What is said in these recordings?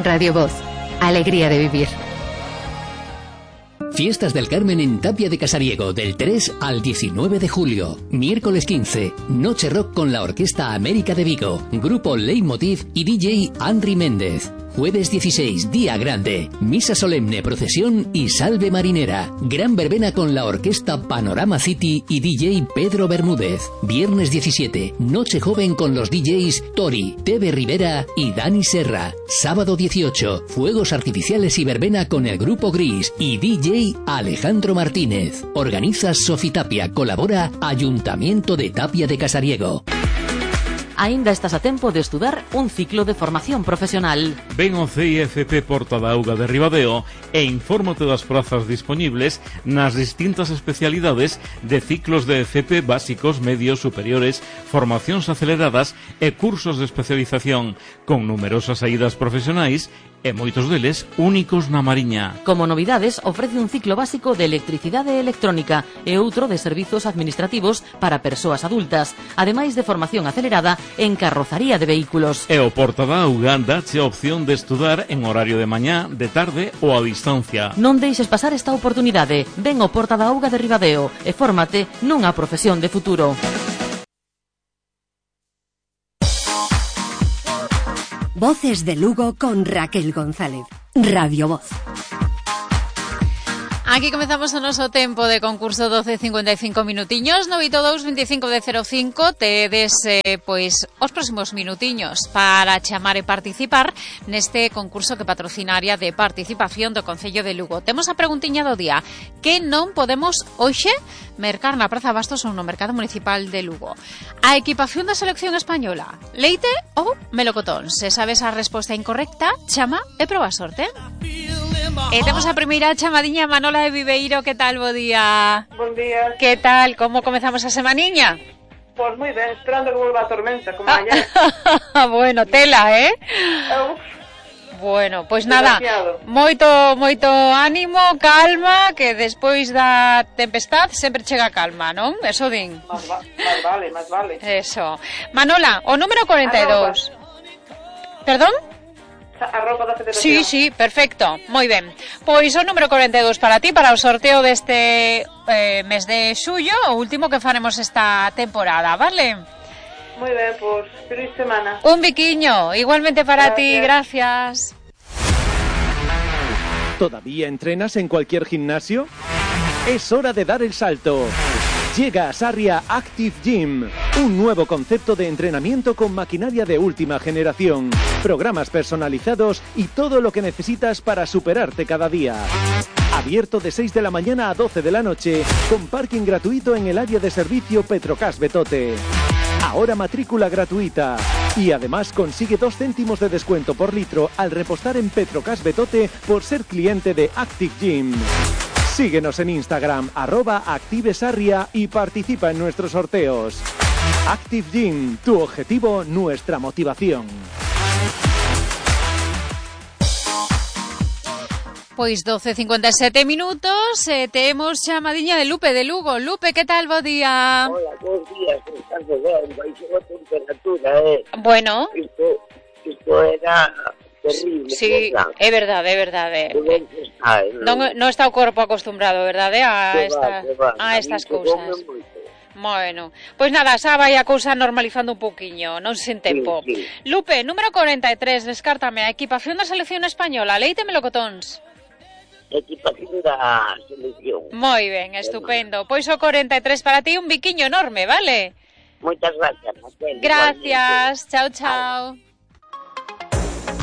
Radio Voz. Alegría de vivir. Fiestas del Carmen en Tapia de Casariego del 3 al 19 de julio. Miércoles 15, Noche Rock con la Orquesta América de Vigo, Grupo Leitmotiv y DJ Andri Méndez. Jueves 16, Día Grande, Misa Solemne, Procesión y Salve Marinera. Gran verbena con la Orquesta Panorama City y DJ Pedro Bermúdez. Viernes 17, Noche Joven con los DJs Tori, Tebe Rivera y Dani Serra. Sábado 18, Fuegos Artificiales y verbena con el Grupo Gris y DJ Alejandro Martínez. Organiza Sofitapia, colabora Ayuntamiento de Tapia de Casariego. Aínda estás a tempo de estudar un ciclo de formación profesional. Ven ao CIFP Porta da Auga de Ribadeo e infórmate das prazas dispoñibles nas distintas especialidades de ciclos de FP básicos, medios, superiores, formacións aceleradas e cursos de especialización, con numerosas saídas profesionais e moitos deles únicos na Mariña. Como novidades, ofrece un ciclo básico de electricidade e electrónica e outro de servizos administrativos para persoas adultas, ademais de formación acelerada en carrozaría de vehículos. E o Porta da Auga dache a opción de estudar en horario de mañá, de tarde ou a distancia. Non deixes pasar esta oportunidade. Ven ao Porta da Auga de Ribadeo e fórmate nunha profesión de futuro. Voces de Lugo con Raquel González. Radio Voz. Aquí comezamos o noso tempo de concurso 12:55 minutiños, 982 25 de 05. Tedes, pois, os próximos minutiños para chamar e participar neste concurso que patrocinaria de participación do Concello de Lugo. Temos a preguntiña do día. Que non podemos hoxe mercar na Praza Bastos ou no Mercado Municipal de Lugo? A equipación da selección española, leite ou melocotón? Se sabes a resposta incorrecta, chama e proba a sorte. E temos a primeira chamadiña, Manola de Viveiro. Que tal, bo día? Bon día. Que tal, como comezamos a semaniña? Pois moi ben, esperando que volva a tormenta, como ayer. Bueno, tela, Bueno, pois nada, moito ánimo, calma, que despois da tempestad sempre chega calma, non? Eso din. Más vale. Eso. Manola, o número 42. Perdón? A roupa da Federación. Sí, perfecto, moi ben. Pois o número 42 para ti, para o sorteo deste mes de xullo, o último que faremos esta temporada, vale? Moi ben, pois, feliz semana. Un biquiño, igualmente para ti, gracias. ¿Todavía entrenas en cualquier gimnasio? Es hora de dar el salto. Llega a Sarria Active Gym, un nuevo concepto de entrenamiento con maquinaria de última generación, programas personalizados y todo lo que necesitas para superarte cada día. Abierto de 6 de la mañana a 12 de la noche, con parking gratuito en el área de servicio Petrocas Betote. Ahora matrícula gratuita. Y además consigue 2 céntimos de descuento por litro al repostar en Petrocas Betote por ser cliente de Active Gym. Síguenos en Instagram, @ActiveSarria y participa en nuestros sorteos. Active Gym, tu objetivo, nuestra motivación. Pois 12:57 minutos, temos chamadiña de Lupe de Lugo. Lupe, que tal, bo día? Hola, bons días, estás ben, baixou a temperatura, Bueno. Isto era terrible. Sí, é verdade. Non está o corpo acostumbrado, verdade, a estas cousas. Bueno, pois nada, xa vai a cousa normalizando un pouquiño, non sen tempo. Sí. Lupe, número 43, descártame, a equipación da selección española, leite melocotóns. Equipación da selección. Moi ben, estupendo. Pois o 43 para ti, un biquiño enorme, vale? Moitas gracias, Raquel. Gracias, chao.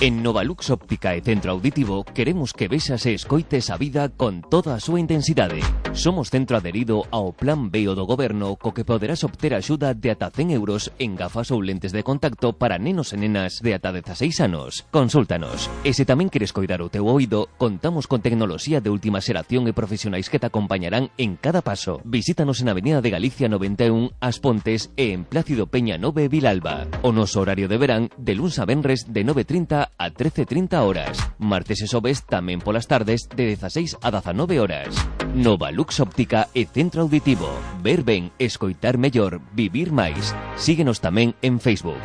En Novalux Óptica e Centro Auditivo queremos que vexas e escoites a vida con toda a súa intensidade. Somos centro adherido ao Plan B do Goberno, co que poderás obter axuda de ata 100 euros en gafas ou lentes de contacto para nenos e nenas de ata 16 anos. Consúltanos. E se tamén queres coidar o teu oído, contamos con tecnoloxía de última xeración e profesionais que te acompañarán en cada paso. Visítanos en Avenida de Galicia 91, As Pontes e en Plácido Peña 9, Vilalba. O noso horario de verán de luns a venres de 9:30 a 13:30 horas. Martes e xoves tamén polas tardes de 16 a 19 horas. Novalux Óptica e Centro Auditivo. Ver ben, escoitar mellor, vivir máis. Síguenos tamén en Facebook.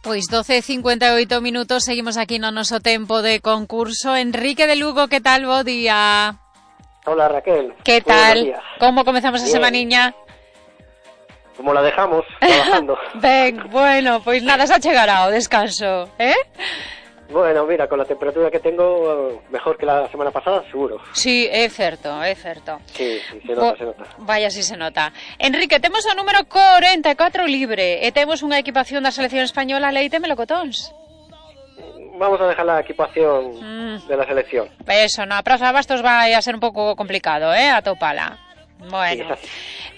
Pois 12:58 minutos, seguimos aquí no noso tempo de concurso. Enrique de Lugo, que tal, bo día? Hola, Raquel. Que tal? Como comezamos a semaniña? Como la dejamos, trabajando. Ben, bueno, pois nada, xa chegará o descanso, Bueno, mira, con la temperatura que tengo, mejor que la semana pasada, seguro. Sí, é certo, é certo. Sí, se nota, se nota. Vaya, si se nota. Enrique, temos o número 44 libre e temos unha equipación da selección española Leite Melocotóns. Vamos a dejar la equipación de la selección. Eso, na Praza de Bastos vai a ser un pouco complicado, atopala. Bueno.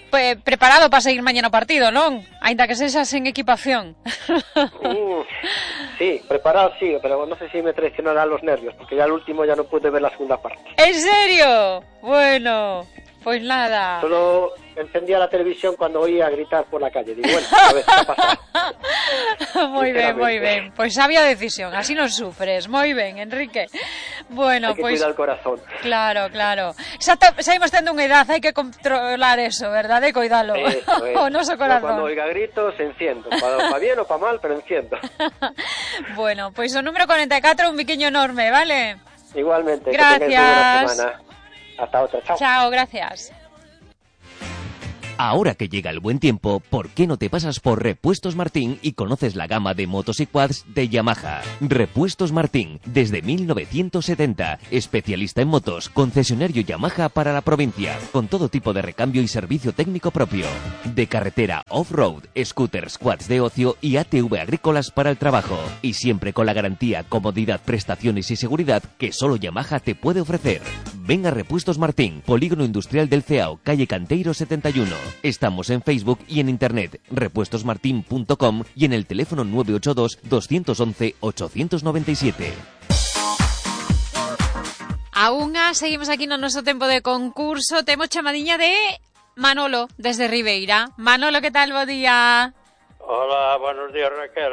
Sí, preparado para seguir mañana o partido, non? Ainda que sexas en equipación. Sí, preparado sí, pero no sé si me traicionarán los nervios, porque ya al último ya no pude ver la segunda parte. ¿En serio? Bueno, pues nada. Solo encendía la televisión cuando oía gritar por la calle. Digo, bueno, a ver qué ha pasado. Moi ben. Pois sabia decisión, así non sufres. Moi ben, Enrique. Bueno, hai que pois cuidar o corazón. Claro. Saímos tendo unha edad, hai que controlar eso, verdade? Coidalo. O noso corazón. Cuando oiga gritos, enciendo. Para bien o para mal, pero enciendo. Bueno, pois o número 44, un biquiño enorme, vale? Igualmente. Gracias. Que tengáis una buena semana. Hasta otra. Chao. Chao, gracias. Ahora que llega el buen tiempo, ¿por qué no te pasas por Repuestos Martín y conoces la gama de motos y quads de Yamaha? Repuestos Martín, desde 1970, especialista en motos, concesionario Yamaha para la provincia, con todo tipo de recambio y servicio técnico propio. De carretera, off-road, scooters, quads de ocio y ATV agrícolas para el trabajo. Y siempre con la garantía, comodidad, prestaciones y seguridad que solo Yamaha te puede ofrecer. Ven a Repuestos Martín, Polígono Industrial del Ceao, calle Canteiro 71. Estamos en Facebook y en internet, repuestosmartin.com y en el teléfono 982-211-897. Aún seguimos aquí no noso tempo de concurso. Temos chamadiña de Manolo, desde Ribeira. Manolo, que tal, bo día? Hola, buenos días, Raquel.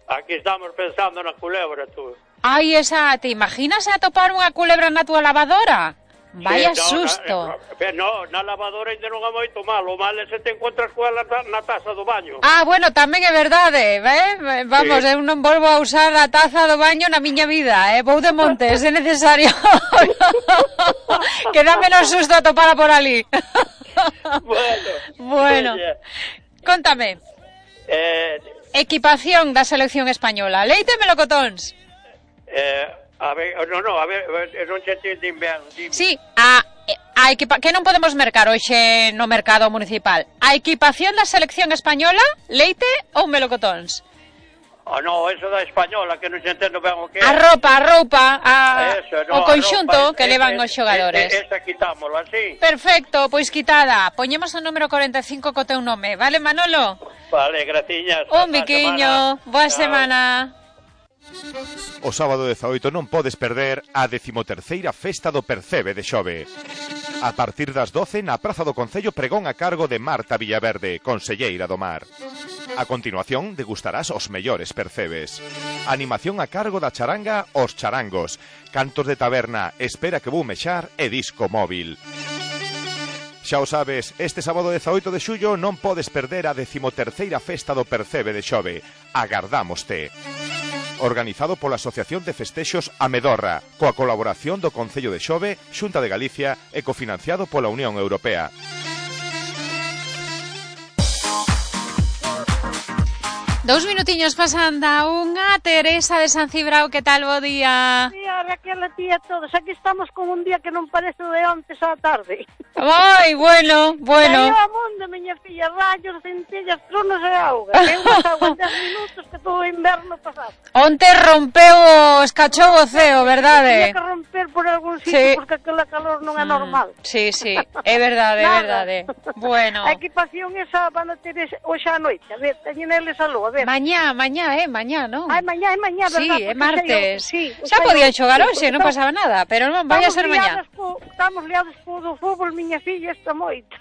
Aquí estamos pensando na culebra, tú. Ai, te imaginas atopar unha culebra na túa lavadora? Vaya susto. No, na lavadora ainda non é moito malo. O mal é se te encontras coa na taza do baño. Bueno, tamén é verdade, Vamos, eu non volvo a usar a taza do baño na miña vida, Vou de montes, é necesario. Que dá menos susto atopala por ali. Bueno. Contame. Equipación da selección española. Leite Melocotóns. A ver, non che entendín ben. Sí, que non podemos mercar hoxe no mercado municipal. A equipación da selección española, leite ou melocotóns? No, eso da española, que non se entendo ben o que é. A roupa, o conxunto que levan os xogadores. Esa quitámola, sí. Perfecto, pois quitada. Poñemos o número 45 co teu nome, vale, Manolo? Vale, graciñas. Un biquiño, boa semana. O sábado 18 non podes perder a 13ª Festa do Percebe de Xove. A partir das 12 na Praza do Concello pregón a cargo de Marta Villaverde, conselleira do Mar. A continuación degustarás os mellores percebes. Animación a cargo da charanga Os Charangos, cantos de taberna Espera que vou mexar e disco móvil. Xa o sabes, este sábado 18 de xullo non podes perder a 13ª Festa do Percebe de Xove. Agardámoste. Organizado pola Asociación de Festexos Amedorra, coa colaboración do Concello de Xove, Xunta de Galicia e cofinanciado pola Unión Europea. Dous minutiños pasan da unha. Teresa de San Cibrao, que tal, bo día? Tía, Raquel, a ti a todos. Aquí estamos con un día que non parece de ontes á tarde. Ai, bueno. Caiu a mundo, miña filla, rayos, centellas, tronos e auga. Que unha agua en 10 minutos que todo o inverno pasado. Onte rompeu, escachou o ceo, verdade? Tiña que romper por algún sitio, porque aquela calor non é normal. Sí, é verdade, é verdade. Bueno. A equipación esa van a ter hoxe á noite. A ver, teñen eles a luz. Mañá, non? Ai, mañá, verdad? Sí, é martes. Xa podían xogar hoxe, non pasaba nada, pero non, vai a ser mañá. Estamos liados co do fútbol, miña filla, esta moita.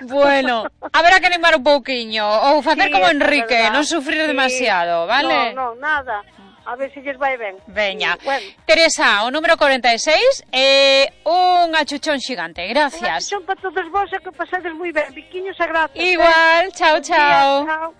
Bueno, haberá que animar un pouquiño, ou facer como Enrique, non sufrir demasiado, vale? Non, nada. A ver se lles vai ben. Veña. Bueno. Teresa, o número 46 é un achuchón xigante. Gracias. Un achuchón para todos vos e que pasades moi ben. Biquiños e gracias. Igual, chao. Chao.